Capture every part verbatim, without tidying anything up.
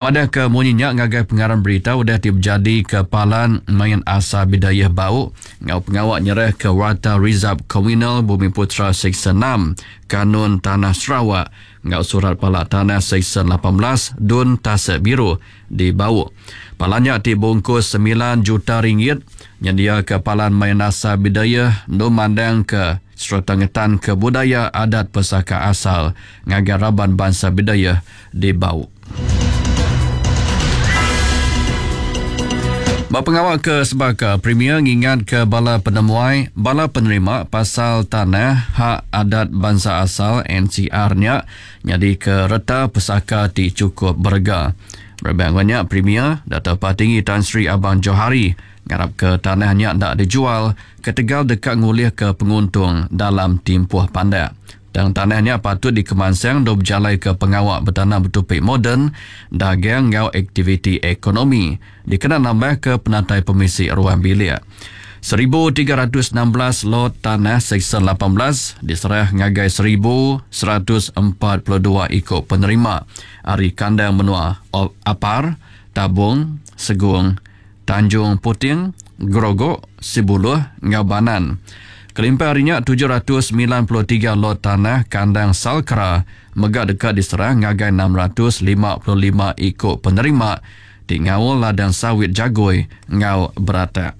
Madah ke munyi nya ngagai pengarang berita udah ti bejadi ke Palan Main Asal Bidayuh Bau enggau pengawa nyerah ke Warta Rizab Komunal Bumi Putra Seksyen enam Kanun Tanah Sarawak enggau Surat Pala Tanah Seksyen lapan belas Dun Tasik Biru di Bau. Palan nya ti bungkus semilan juta ringgit nyendiaka Palan Main Asal Bidayuh endur mandang ke sereta ngetan ke budaya adat pesaka asal ngagai raban bansa Bidayuh di Bau. Ba pengawa ke sebaka, Premier ngingat ke bala penemuai, bala penerima pasal tanah hak adat bansa asal N C R nya nyadi ke reta pesaka ti cukup berega. Berebak nya, Premier Dato' Patinggi Tan Sri Abang Johari ngarap ke tanah nya ndak dijual ketegal deka ngulih ke penguntung dalam timpuh pandak. Tang tanah nya patut dikemansang do berjalai ke pengawa betanam betupi moden, dagang enggau aktiviti ekonomi dikena nambah ke penatai pemisi ruang bilik. seribu tiga ratus enam belas lot tanah Seksyen lapan belas diserah ngagai seribu seratus empat puluh dua ikut penerima ari kandang menua Apar, Tabung, Segung, Tanjung Puting, Gerogok, Sibuluh enggau Banan. Kelimpah hari nya tujuh ratus sembilan puluh tiga lot tanah kandang Salkra mega deka diserah ngagai enam ratus lima puluh lima ikut penerima ti ngaul ladang sawit jagoi enggau beratak.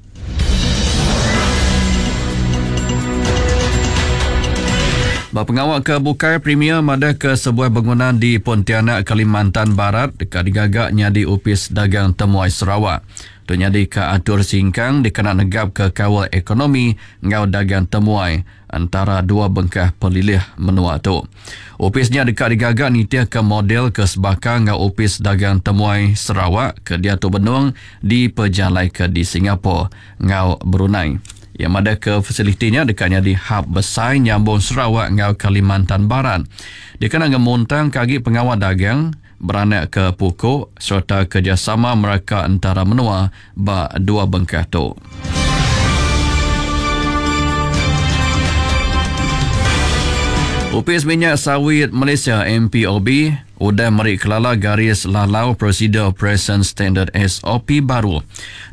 Ba pengawa ke bukai, Premier madah ke sebuah bangunan di Pontianak, Kalimantan Barat deka digaga nyadi Opis Dagang Temuai Sarawak. Tu nyadi ke atur singkang dikena negap ke kawal ekonomi enggau dagang temuai antara dua bengkah pelilih menua tu. Opis nya deka digaga nitih ke model ke sebaka enggau Opis Dagang Temuai Sarawak ke diatu benung dipejalaika di Singapura enggau Brunei. Yang madah ke fasilitinya deka nyadi hub besai nyambung Sarawak enggau Kalimantan Barat. Dikena ngemuntang ke agi pengawa dagang, beranak ke pukuk serta kerjasama mereka antara menua ba dua bengkah tu. Opis Minyak Sawit Malaysia M P O B udah meri kelala garis lalau Prosedur Operation Standard S O P baru.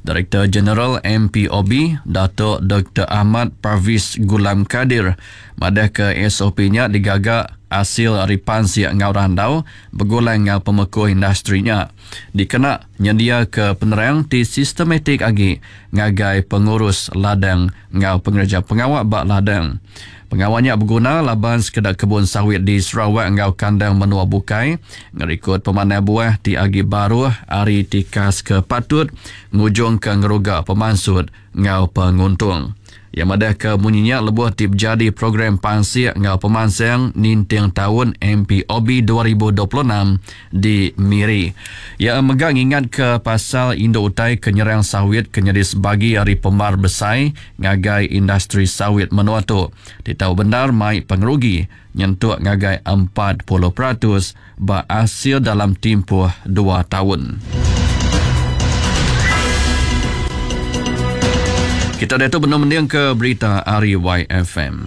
Direktur Jeneral M P O B, Datuk Doktor Ahmad Parviz Gulam Kadir, madah ke S O P nya digaga hasil ari pansik enggau randau begulai enggau pemekuh industri nya. Dikena nyendia ke penerang ti sistematik agi ngagai pengurus ladang enggau pengereja pengawa ba ladang. Pengawa nya berguna laban sekeda kebun sawit di Sarawak enggau kandang menua bukai ngerikod pemanah buah ti agi baruh ari tikas ke patut ngujung ke ngeruga pemansut enggau penguntung. Yang madah ke munyinya lebuh ti berjadi program pansik enggau pemansang ninting tahun M P O B dua ribu dua puluh enam di Miri. Ia mega ngingat ke pasal induk utai ke nyerang sawit ke nyadi sebagi ari pemar besai ngagai industri sawit menua tu. Ditau benar mai pengerugi nyentuk ngagai empat puluh peratus ba hasil dalam tempoh dua tahun. Kita dah tu benar mending ke berita ari Y F M.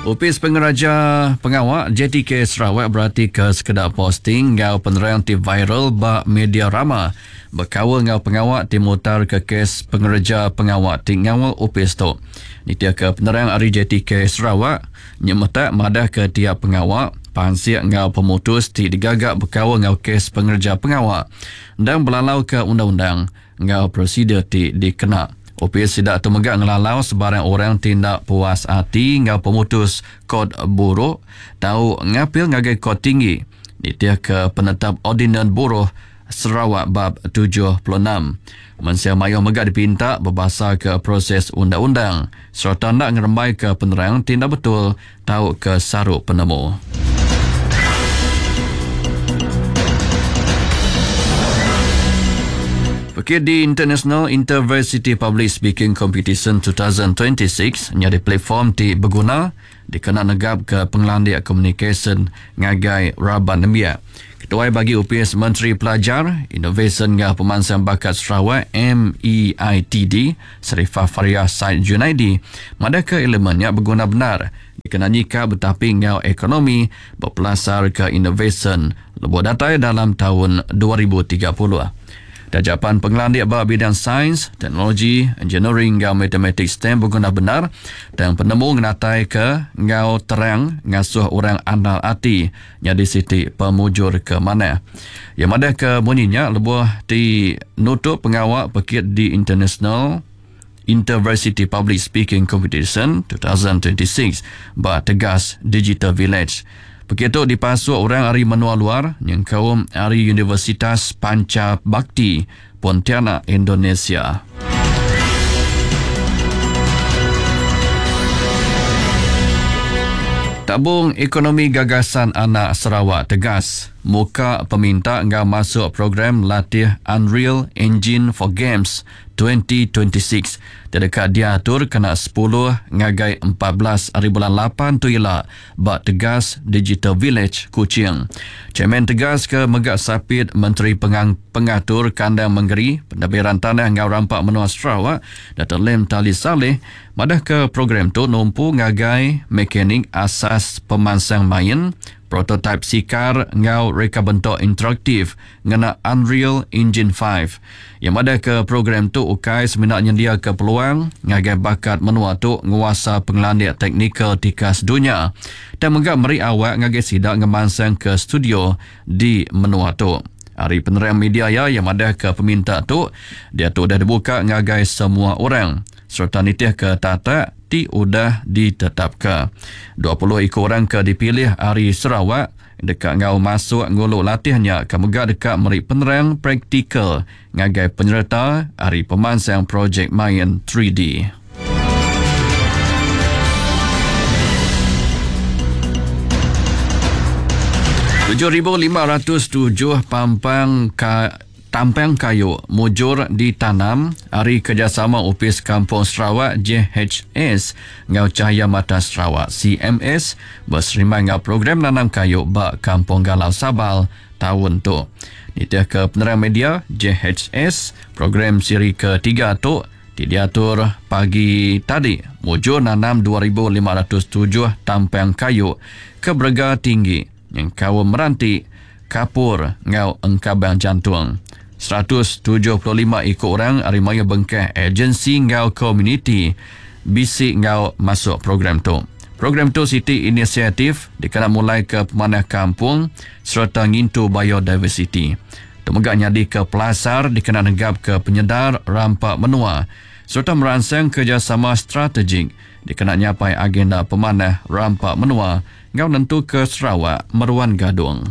Opis Pengeraja Pengawa J T K Sarawak berarti ke sekeda posting enggau penerang ti viral ba media rama berkaul enggau pengawa ti mutar ke kes pengereja pengawa ti ngawal opis tu. Nitih ke penerang ari J T K Sarawak, nyemetak madah ke tiap pengawa pansik enggau pemutus ti digaga berkaul enggau kes pengereja pengawa dan belalau ke undang-undang enggau prosedur ti dikena. Opis sidak tu mega ngelalau sebarang orang tindak puas hati enggau pemutus kod buruk tau ngapil ngagai kod tinggi nitih ke penetap Ordinan Buruh Sarawak bab tujuh puluh enam. Mensia mayuh mega dipinta berbahasa ke proses undang-undang serta nak ngerembai ke penerang tindak betul tau ke saruk penemu. Okey, di International Intervarsity Public Speaking Competition dua ribu dua puluh enam nyadi platform ti berguna dikena negap ke pengelandik komunikasyen ngagai raban nembiak. Ketua bagi Opis Menteri Pelajar, Inovasi enggau Pemansang Bakat Sarawak M E I T D, Serifah Faria Said Junaidi, madah ke elemennya berguna benar dikena nyikap betapi enggau ekonomi bepelasar ke inovasyen lebuh datai dalam taun dua ribu tiga puluh. Tajapan pengelandik ba bidang sains, teknologi, engineering enggau matematik STEM beguna benar, dan penemu ngenatai ke enggau terang ngasuh orang andal ati nyadi siti pemujur ke mana. Yang madah ke bunyinya lebuh ti nutup pengawak pekit di International Intervarsity Public Speaking Competition dua ribu dua puluh enam ba Tegas Digital Village. Pekit tu dipasuk orang ari menua luar nyengkaum ari Universitas Panca Bakti Pontianak, Indonesia. Tabung Ekonomi Gagasan Anak Sarawak Tegas muka peminta enggau masuk program latih Unreal Engine for Games dua ribu dua puluh enam terdekat diatur kena sepuluh ngagai empat belas hari bulan lapan tu ila ba Tegas Digital Village, Kuching. Chairman Tegas ke Megak Sapit Menteri Pengang, Pengatur Kandang Mengeri Pentadbiran Tanah enggau Rampak Menua Sarawak, Dato' Lim Tali Saleh, madah ke program tu numpu ngagai mekanik asas pemansang main, prototype sikar enggau reka bentuk interaktif ngena Unreal Engine lima. Yang madah ke program tu ukai semina nyendia ke peluang ngagai bakat menua tu nguasa pengelandik teknikal tikas dunia dan mega meri awak ngagai sida ngemansang ke studio di menua tu. Hari penerang media ya yang madah ke peminta tu dia tu dah dibuka ngagai semua orang serta nitih ke tata ti udah ditetapkan. dua puluh ikut orang ke dipilih hari Sarawak dekat ngau masuk ngulu latihnya ke mega dekat meri penerang praktikal ngagai penyerta hari pemansang projek main tiga D. tujuh ribu lima ratus tujuh pampang ka Tampang kayu mujur ditanam hari kerjasama Opis Kampung Sarawak J H S ngau Cahaya Mata Sarawak C M S berserima ngau program nanam kayu ba Kampung Galau Sabal tahun tu. Nitih ke penerang media J H S program siri ketiga tu diatur pagi tadi mujur nanam dua ribu lima ratus tujuh tampang kayu ke berega tinggi yang kaum meranti kapur ngau engkabang jantung. seratus tujuh puluh lima ikut orang ari maya bengkah agensi ngau komuniti bisi ngau masuk program tu. Program tu siti inisiatif dikena mulai ke pemanah kampung serta ngintu biodiversity. Tu mega nyadi ke pelasar dikena negap ke penyedar rampak menua serta meransang kerjasama strategik dikena nyapai agenda pemanah rampak menua ngau nentu ke Sarawak meruan gadung.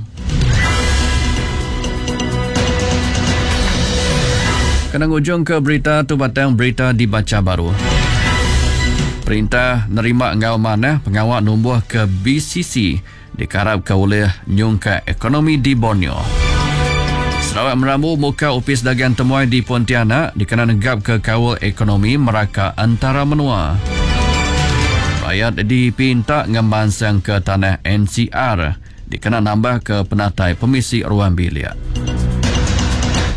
Kena ngujung ke berita tu batang berita dibaca baru. Perintah nerima ngau manah pengawak numbuh ke B C C dikarap ke oleh nyungka ekonomi di Borneo. Sarawak merambu muka Opis Dagang Temuai di Pontianak dikena negap ke kawal ekonomi meraka antara menua. Rakyat dipinta ngembansang ke tanah N C R dikena nambah ke penatai pemisi ruang bilik.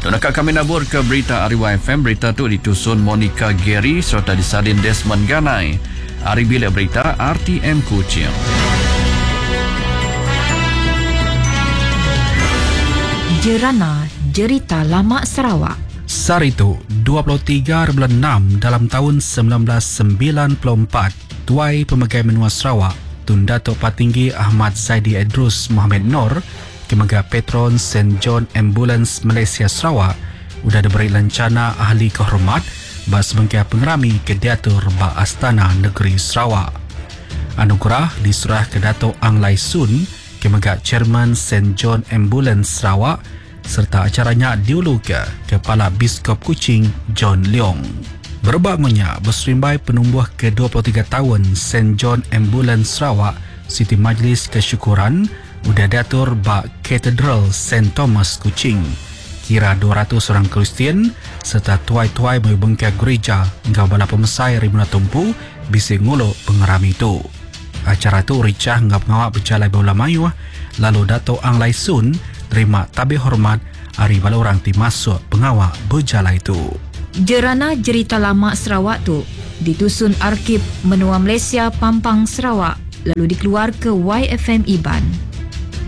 Tunaka kami nabur ke berita R Y F M. Berita tu ditusun Monica Gary serta disalin Desmond Ganai. Ari Bilik Berita R T M Kuching. Jerana Jerita Lama Sarawak. Saritu dua puluh tiga bulan enam dalam tahun sembilan belas sembilan puluh empat, Tuai Pemegai Menua Sarawak Tun Datuk Patinggi Ahmad Zaidi Idrus Mohamed Noor Kemega Patron Saint John Ambulance Malaysia Sarawak udah diberi lencana ahli kehormat ba sebengkah pengerami ke diatur ba Astana Negeri Sarawak. Anugerah diserah ke Datuk Ang Lai Soon Kemega Chairman Saint John Ambulance Sarawak serta acaranya diulu ke Kepala Biskop Kuching John Leong. Berebak ngunya berserimbai penumbuh ke dua puluh tiga tahun Saint John Ambulance Sarawak Siti Majlis Kesyukuran udah diatur ba Cathedral Saint Thomas Kuching. Kira dua ratus orang Kristian serta tuai-tuai bengkah gereja enggau bala pemesai Rimuna Tumpu bisi nguluk pengerami tu. Acara tu ricah enggau pengawak berjalai bola mayuh lalu Dato' Ang Lai Soon terima tabih hormat ari bala orang ti masuk pengawak berjalai tu. Jerana Jerita Lama Sarawak tu ditusun Arkib Menua Malaysia Pampang Sarawak. lalu dikeluarka Waifm Iban.